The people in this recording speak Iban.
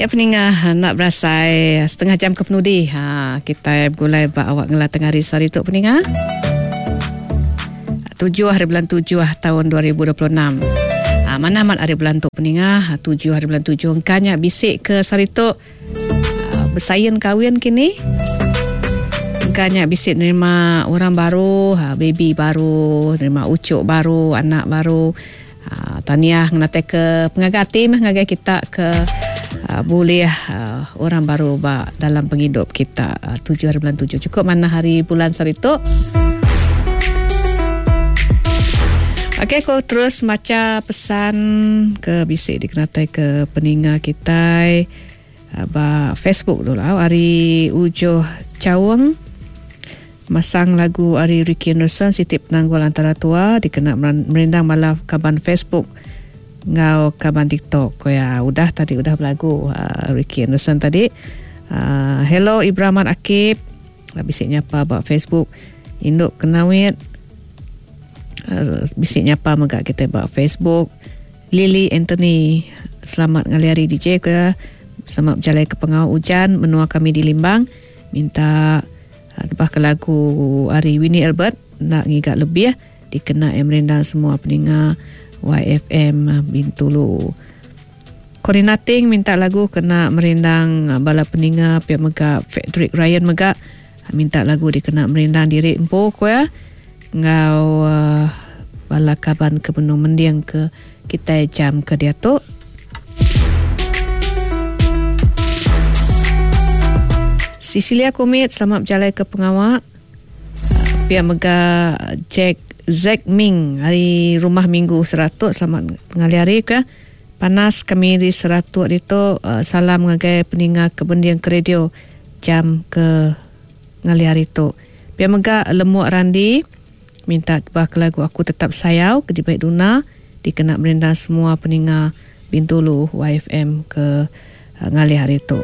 Ya peninga enda berasai setengah jam ke penudi ha kitai begulai ba awak ngela tengah hari sehari tu peninga. Tujuh hari bulan tujuh taun 2026. Ha, mana amat hari bulan tu peninga ha, tujuh hari bulan tujuh engka nya bisi ke sehari tu ha, besain kawin kini. Engka nya bisi nerima orang baru, ha, baby baru, nerima ucuk baru, anak baru. Tahniah ngenatai ke pengaga ati meh ngagai kita ke bulih orang baru ba dalam pengidup kita tujuh hari bulan tujuh cukup manah hari bulan sehari tu. Okey aku terus macha pesan ke bisi dikenatai ke peninga kitai ba Facebook dulu ari Ujoh Chaung. Masang lagu ari Ricky Anderson siti penanggul antara tua dikena merindang bala kaban Facebook enggau kaban TikTok ko iya. Udah tadi udah belagu Ricky Anderson tadi. Hello Ibrahman Akib bisi nyapa ba Facebook indu Kenawit bisi nyapa mega kitai ba Facebook. Lily Anthony selamat ngalih hari DJ ko iya. Selamat bejalai ke pengawa ujan menua kami di Limbang. Minta Tebah ke lagu ari Winnie Albert enda ngiga lebih dikena iya merindang semua peninga YFM Bintulu. Corina Ting minta lagu kena merindang bala peninga pia mega Frederick Ryan mega minta lagu dikena merindang diri empu ku iya enggau bala kaban ke benung mending ke kitai jam ke diatu. Cecilia Kumit selamat bejalai ke pengawa. Pia mega Jack Zack Ming ari Rumah Minggu Seratuk selamat ngalih hari ke. Panas kami di Seratuk ditu salam ngagai peninga ke bending ke radio jam ke ngalih hari tu. Pia mega Lemuk Randi Minta tebah ke lagu Aku Tetap Sayau ke dibai Duna dikena merindang semua peninga Bintulu YFM ke ngalih hari tu.